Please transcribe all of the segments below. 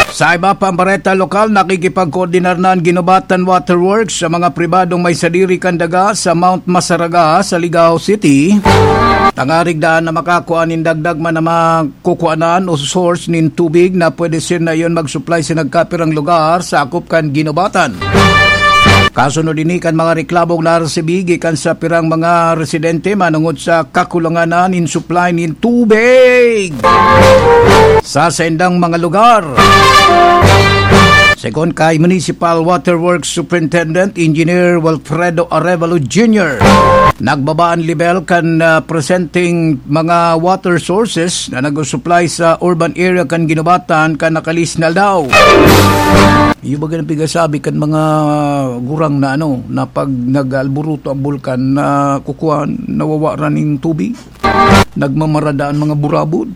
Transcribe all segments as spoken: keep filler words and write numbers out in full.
Sa iba pang bareta lokal, nakikipagkoordinar na an Guinobatan Waterworks sa mga pribadong may sadiri kan daga sa Mount Masaraga sa Ligao City. Tangarig daan na makakua nin dagdag man na makukuanan o source nin tubig na pwede siya na iyon mag-supply sa nagkapirang lugar sa akop kan Guinobatan. Kasunod ini kan mga reklamong naresibi gikan sa pirang mga residente manungod sa kakulangan na nin supply nin tubig sa saindang mga lugar. Segun kay Municipal Waterworks Superintendent Engineer Wilfredo Arevalo Junior, nagbaba an level kan, ah, presenteng mga water sources na nag-susupply sa urban area kan Guinobatan kan nakalis na aldaw. Iyo ba ganang pigasabi kan mga gurang na ano, na pag nag-aalburuto ang bulkan na kukuan, nawawaran ning tubig? Nagmamaradaan mga burabod.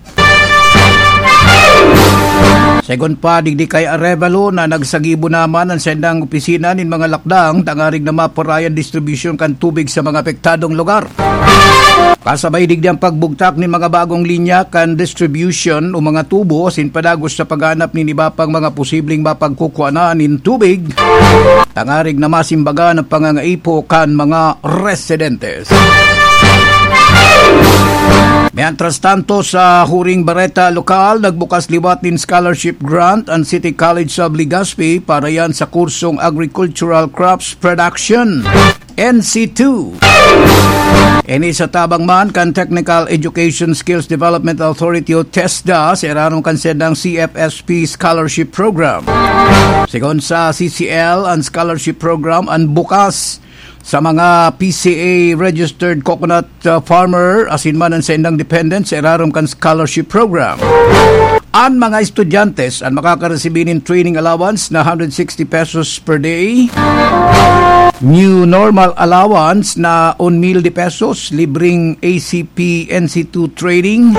Segun pa, digdi kay Arevalo na nagsagibo naman ang sendang opisina nin mga lakdang tangarig na maparayan distribusyon kan tubig sa mga apektadong lugar. Kasabay digdi ang pagbugtak nin mga bagong linya kan distribution o mga tubo asin padagos sa paghanap nin iba pang mga posibleng mapagkukuanan nin tubig, tangarig na masimbagan ang pangangaipo kan mga residentes. Mientras tanto, sa huring bareta lokal, nagbukas liwat nin scholarship grant ang City College of Legazpi para yan sa kursong Agricultural Crops Production, N C two. Ini sa tabang man kan Technical Education Skills Development Authority o TESDA sa irarom kan sendang C F S P Scholarship Program. Segun sa C C L, ang scholarship program an bukas sa mga P C A registered coconut, uh, farmer asin man an saindang dependent sa irarom kan scholarship program. An mga estudyante an makakaresibi nin training allowance na hundred sixty pesos per day, new normal allowance na un mil de pesos, libreng A C P N C two training,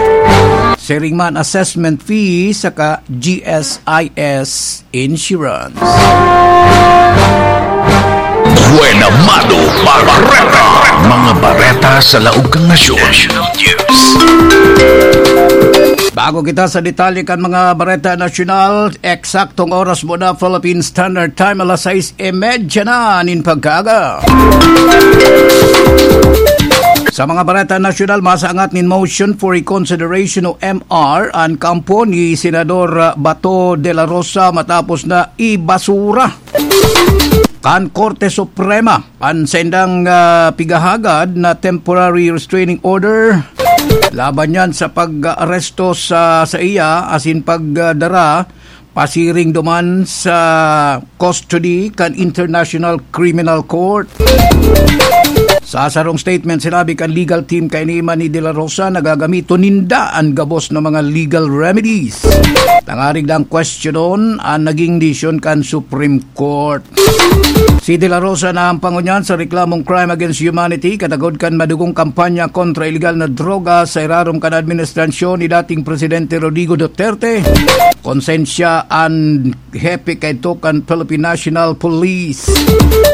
siring man assessment fee, saka G S I S insurance. Buena Mado Bareta. Mga bareta sa laog kan nasyon. Bago kita sa detalye kan mga bareta nasyonal, eksaktong oras mo na, Philippine Standard Time, alas sais y media na nin pagkaaga. Sa mga bareta nasyonal, masaangat nin motion for reconsideration o M R an kampo ni Senador, ah, Bato de la Rosa matapos na ibasura kan Korte Suprema an saindang, ah, pigahagad na temporary restraining order laban niyan sa pag-aresto sa, sa iya asin pagdara pasiring duman sa custody kan International Criminal Court. Sa sarong statement, sinabi kan legal team kaini man ni De La Rosa na gagamiton ninda an gabos na mga legal remedies tangarig lang kwestiyonon an naging desisyon kan Supreme Court. Si De La Rosa na ang pangunyan sa reklamong crime against humanity, katagod kan madugong kampanya kontra iligal na droga sa irarom kan administrasyon ni dating Presidente Rodrigo Duterte. Konsensya an hepe kaidto kan Philippine National Police.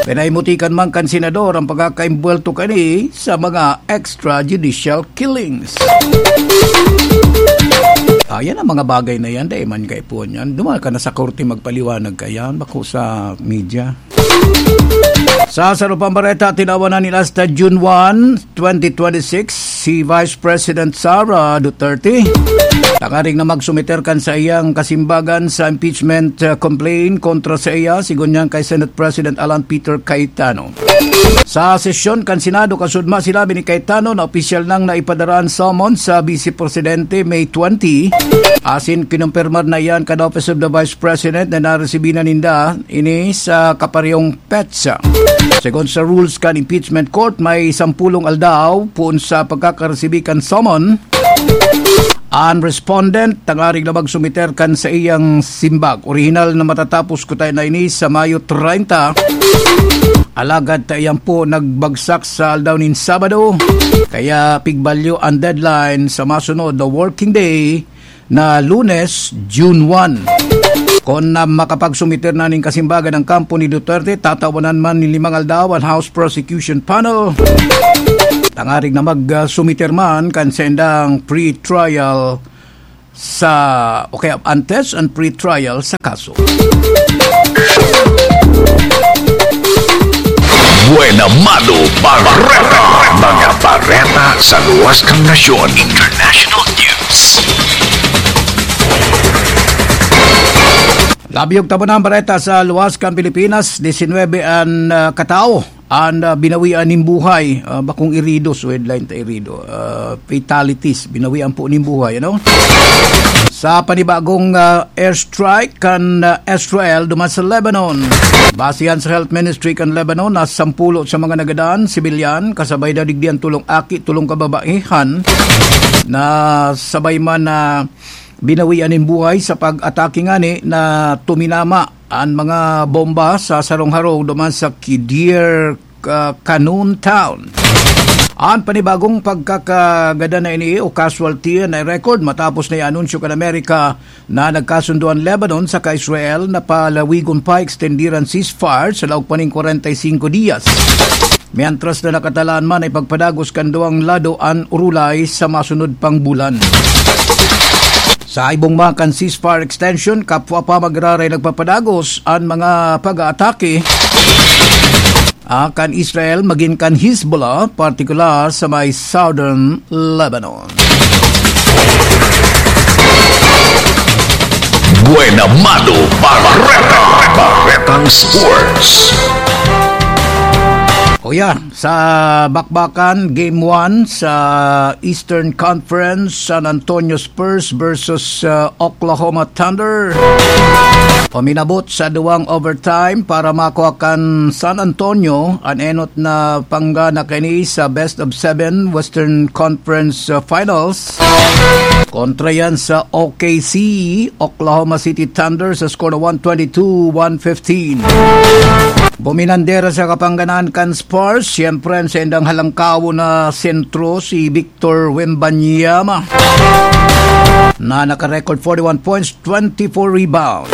Pinaimutikan man kan senador ang pagkakaimbwelto kani sa mga extrajudicial killings. Ayan ang mga bagay na yan, dahil man kaipuhan yan. Duman ka na sa korte magpaliwanag ka yan, bako sa media. Sa sarupang bareta, tinawan na nila hasta June one, twenty twenty-six, si Vice President Sara Duterte tangaring na magsumiter kan sa iyang kasimbagan sa impeachment, uh, complaint kontra sa iya, sigon niyan kay Senate President Alan Peter Cayetano. Sa sesyon kan Senado, kasudma sinabi ni Cayetano na opisyal nang naipadara an summons sa Vice Presidente May twenty, asin kinumpirmar na iyan kan Office of the Vice President na naresibi na ninda ini sa kaparehong petsa. Segun sa rules kan impeachment court, may sampulong aldaw poon sa pagkakaresibi kan summon an respondent tangarig na magsumiter kan sa iyang simbag. Orihinal na matatapos kuta na ini sa Mayo treinta, alagad ta iyan po nagbagsak sa aldaw nin Sabado, kaya pigbalyo an deadline sa masunod na working day na Lunes, June one. Kon na makapagsumiter na nin kasimbagan ang kampo ni Duterte, tatawanan man nin limang aldaw an House Prosecution Panel tangarig na magsumiter man kan sendang pre-trial sa, o kaya antes ang pre-trial sa kaso. Buena Mano Bareta. Mga bareta sa luwas kan nasyon. International news. Labi og tabunan bareta sa luwas kan Pilipinas, disinwebe an, ah, katao an, ah, binawian nin buhay, ah, bakong irido, so headline ta irido, ah, fatalities, binawian po nin buhay, ano? Sa panibagong, ah, airstrike kan, ah, Israel duman sa Lebanon. Base yan sa Health Ministry kan Lebanon, na sampulo sa mga nagadan, sibilyan, kasabay na digdi an tulong aki, tulong kababaihan, na sabay man na binawian nin buhay sa pag-atake ngani na tuminama an mga bomba sa sarong harong duman sa Kidir, ah, Kanun Town. An panibagong pagkakagadan na ini o casualty na record matapos na i-anunsyo kan Amerika na nagkasundo an Lebanon saka Israel na palawigon pa, extendiran ceasefire sa laog pa ning kwarenta y singko diyas. Mientras na nakatalaan man ay pagpadagos kan duwang lado an urulay sa masunod pang bulan. Sa ibong makan ceasefire extension, kapwa pa magraray nagpapadagos an mga pag-aatake, ah, kan Israel magin kan Hezbollah, partikular sa may southern Lebanon. Buena Mano Bareta. Baretang Sports. O yan, sa bakbakan, Game one sa Eastern Conference, San Antonio Spurs versus, uh, Oklahoma Thunder. Uminabot sa duwang overtime para makuha kan San Antonio an enot na panggana kaini sa best of seven Western Conference, uh, Finals. Kontra yan sa O K C, Oklahoma City Thunder, sa score na one twenty-two one fifteen. Buminandera sa kapangganaan kan Spurs, siyempre, ang saindang halangkawo na sentro, si Victor Wembanyama, na naka-record forty-one points, twenty-four rebounds.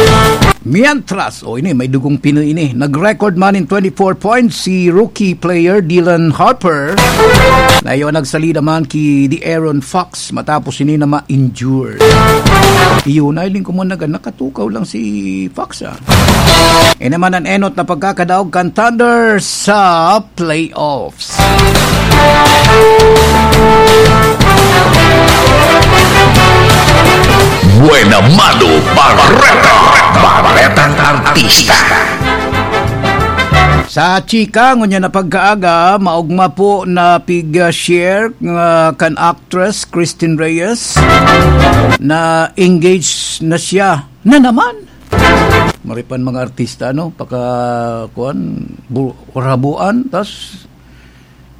Mientras, o ini, may dugong Pinoy ini. Nag-record man in twenty-four points si rookie player Dylan Harper, na iyo nagsalida man ki De'Aaron Fox matapos ini na ma-injure. Iyo na, hiling ko mo, naga-, nakatukaw lang si Fox, ah. Ini man an enot na pagkakadaog kan Thunder sa playoffs. Buena Mano Bareta. Baretang Artista. Sa chika, ngunyan na pagkaaga, maogma po na pig-share nga kan actress Christine Reyes na engaged na siya na naman. Maripan mga artista, no? Paka, kuwan, bu-, rabuan, tas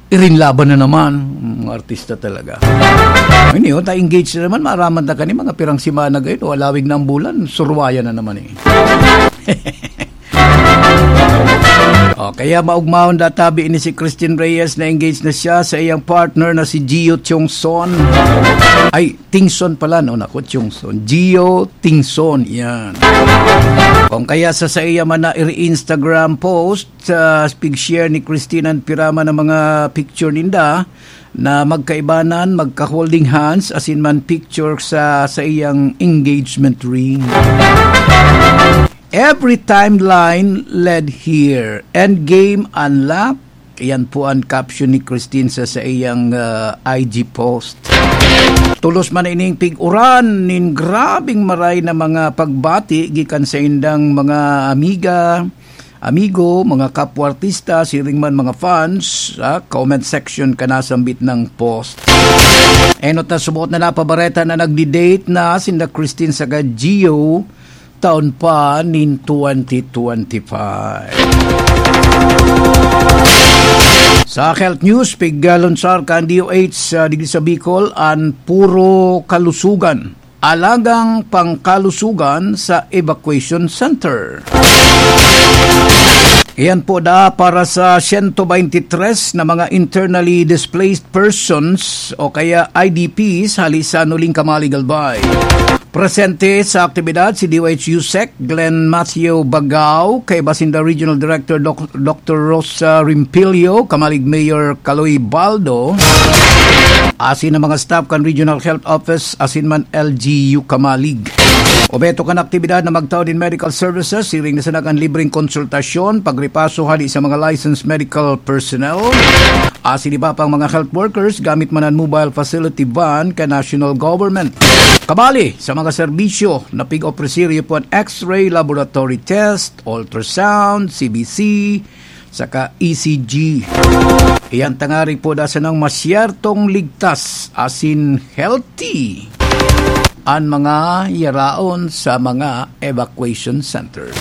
irinlaban na naman, mga artista talaga. Ini, oh, ta-engage na naman, maaraman ta kani mga pirang semana gayon, o alawig na ang bulan, surwayan na naman eh. O, kaya maugmahon databi ini si Christine Reyes na engaged na siya sa iyang partner na si Gio Chong Son. Ay, Tingson pala, no? Naku, Chong Son. Gio Tingson, yan. Kung kaya sa saiya man na iri-Instagram post, sa pig-share ni Christine an pirama ng mga picture ninda na magkaibanan, magka-holding hands, asin man picture sa, sa iyang engagement ring. Every timeline led here. Endgame unlock. Iyan po ang caption ni Christine sa, sa iyang, ah, I G post. Tulos man ining pig-uran nin grabing maray na mga pagbati gikan sa indang mga amiga, amigo, mga kapwa artista, siring man mga fans, sa comment section kan nasambit na post. Enot na subot na napabareta na nagdi-date na sinda Christine saka Gio taon pa nin twenty twenty-five. Sa health news, piglunsar kan D O H sa digdi sa Bicol an Puro Kalusugan. Alagang pangkalusugan sa evacuation center. Iyan po da para sa siyento baynte tres na mga internally displaced persons o kaya I D Ps hali sa Nuling Kamalig, Albay. Presente sa aktibidad si D O H U Sec Glenn Matthew Bagao, kaiba sinda Regional Director Doc- Doctor Rosa Rimpilio, Kamalig Mayor Kaloy Baldo, asin ang mga staff kan Regional Health Office asin man L G U Kamalig. Obheto kan aktibidad na magtao nin medical services, siring na sana kan libreng konsultasyon, pagripaso hali sa mga licensed medical personnel, asin iba pang mga health workers, gamit man an mobile facility van kan national government. Kabali sa mga serbisyo na pig-opresiryo po an X-ray laboratory test, ultrasound, C B C, saka E C G. Iyan tangari po da sanang masyertong ligtas asin healthy an mga yaraon sa mga evacuation centers.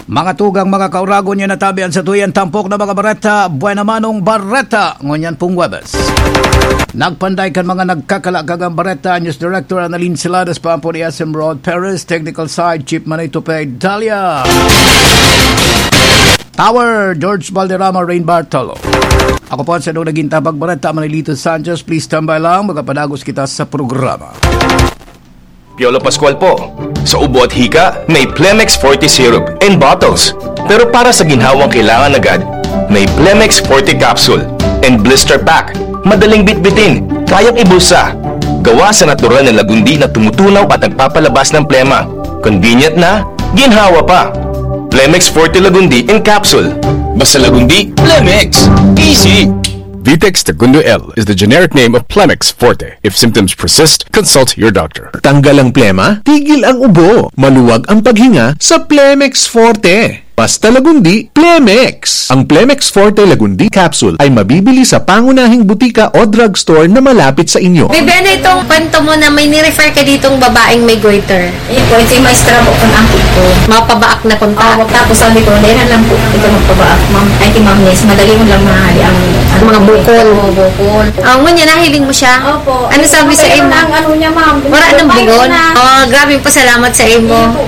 Mga tugang, mga kauragon, yan natabi an satuyan tampok na mga bareta, Buena Manong Bareta, ngunyan pong Huwebes. Nagpanday kan mga nagkakalakagang bareta, News Director Annalyn Siladas, paampo ni S M Rod Perez, Technical Side, Chief Manay Tupay Dalia. Tower, George Valderrama, Rain Bartolo. Ako po ang sadong naging tabagbareta, Manilito Sanchez. Please stand by lang, magapadagos kita sa programa. Piolo Pascual po. Sa ubo at hika, may Plemex Forte Syrup and bottles. Pero para sa ginhawang kailangan agad, may Plemex Forte Capsule and Blister Pack. Madaling bitbitin, kayang ibulsa. Gawa sa natural na lagundi na tumutunaw at nagpapalabas ng plema. Convenient na, ginhawa pa. Plemex Forte Lagundi in Capsule. Basta Lagundi, Plemex. Easy! Vitex Segundo L is the generic name of Plemex Forte. If symptoms persist, consult your doctor. Tanggal ang plema, tigil ang ubo, maluwag ang paghinga sa Plemex Forte. Basta Lagundi, Plemex. Ang Plemex Forte Lagundi Capsule ay mabibili sa pangunahing butika o drugstore na malapit sa inyo. Bebe, ano itong kwento mo na may ni-refer ka ditong babaeng may goiter? Ayun po, ito yung maestra po kung ang ko. Mapabaak na punta. Oo, tapos sabi ko, "Dahil na lang po, ito magpabaak, ma'am. Ay, ti ma'am, yes, madali mo lang mahali ang, ano, mga bukol." Oo, bukol. Ah, ngunyan, nahiling mo siya? Opo. Ano sabi sa imo? Ang ano niya, ma'am. Wala nang bugon? Oh, grabe, pasalamat sa imo.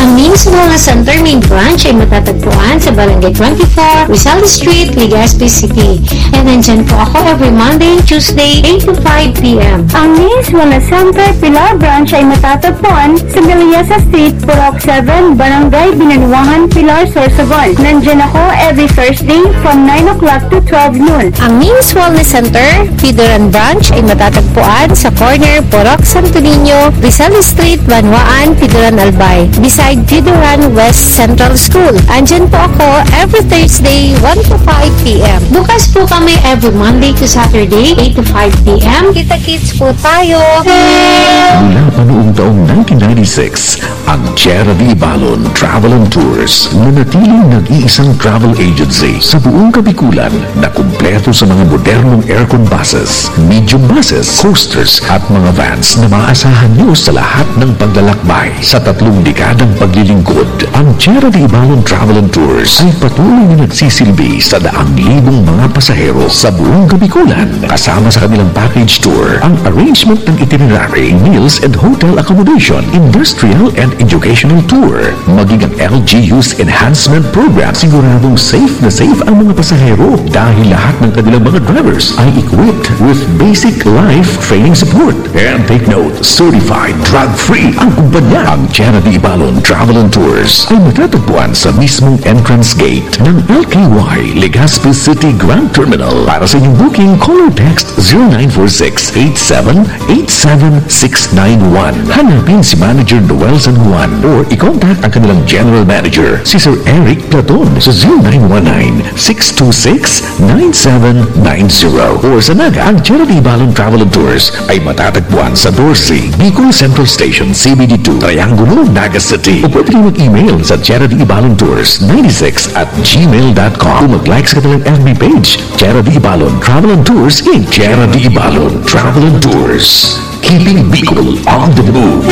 Ang Mims Wellness Center main branch ay matatagpuan sa Barangay twenty-four, Rizal Street, Legazpi City. And nandyan po ako every Monday and Tuesday, eight to five p m. Ang Mims Wellness Center Pilar Branch ay matatagpuan sa Meliasa Street, Purok seven, Barangay Binanuangan, Pilar, Sorsogon. Nandyan ako every Thursday from nine o'clock to twelve noon. Ang Mims Wellness Center, Pidoran Branch, ay matatagpuan sa corner Purok Santo Niño, Rizal Street, Banwaan, Pidoran, Albay, beside Pidoran West Central School. Andyan po ako every Thursday, one to five p m. Bukas po kami every Monday to Saturday, eight to five p m. Kita-kits po tayo! Mula pa noong taong nineteen ninety-six, ang Tierra de Ibalon Travel and Tours, nanatiling nag-iisang travel agency sa buong Kabikulan na kumpleto sa mga modernong aircon buses, medium buses, coasters at mga vans na maaasahan nyo sa lahat ng paglalakbay. Sa tatlong dekadang paglilingkod, ang Tierra de Ibalon Travel and Tours ay patuloy na nagsisilbi sa daang libong mga pasahero sa buong Kabikulan. Kasama sa kanilang package tour, ang arrangement ng itinerary, meals and hotel accommodation, industrial and educational tour, maging ang L G U's enhancement program, siguradong safe na safe ang mga pasahero dahil lahat ng kanilang mga drivers ay equipped with basic life training support. And take note, certified drug-free ang kumpanya. Ang Tierra de Ibalon Travel and Tours ay matatagpuan sa mismong entrance gate ng L K Y Legazpi City Grand Terminal. Para sa inyong booking, call or text zero nine four six eight seven eight seven six nine one. Hanapin si Manager Noel San Juan or i-contact ang kanilang General Manager, si Sir Eric Platon, sa zero nine one nine six two six nine seven nine zero. Or sa Naga, ang Tierra de Ibalon Travel and Tours ay matatagpuan sa doce Bicol Central Station, C B D two, Triangulo, Naga City. O pwede kayong mag-email sa Tierra de Ibalon Tours ninety-six at gmail dot com o mag-like sa kanilang F B page, Tierra de Ibalon Travel and Tours, Inc. Tierra de Ibalon Travel and Tours. Keeping Bicol on the move.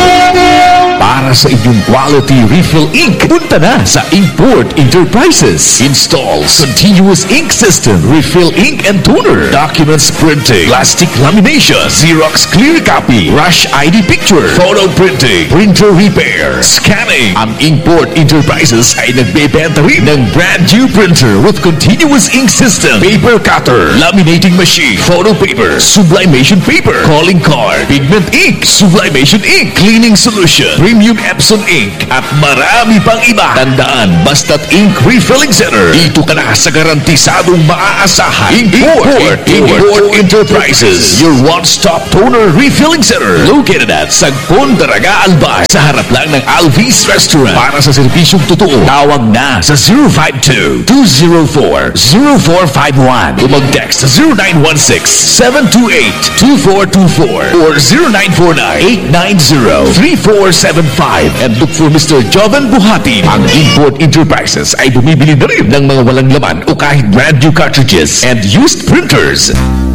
Para Sa inyong quality refill ink, punta na sa Inkport Enterprises. Installs continuous ink system, refill ink and toner, documents printing, plastic lamination, Xerox clear copy, rush I D picture, photo printing, printer repair, scanning. Ang Inkport Enterprises ay nagbebenta rin ng brand new printer with continuous ink system, paper cutter, laminating machine, photo paper, sublimation paper, calling card, pigment ink, sublimation ink, cleaning solution, premium Epson ink, at marami pang iba. Tandaan, basta't ink refilling center, dito ka na sa garantisadong maaasahan. Import, Import, Import Enterprises, your one-stop toner refilling center. Located at Sagpon, Daraga, Albay, sa harap lang ng Alvis Restaurant. Para sa serbisyong totoo, tawag na sa zero five two, two zero four, zero four five one o mag-text sa zero nine one six, seven two eight, two four two four or zero nine four nine, eight nine zero, three four seven five and look for Mister Joven Buhati. Ang Import Enterprises ay bumibili na rin ng mga walang laman o kahit brand new cartridges and used printers.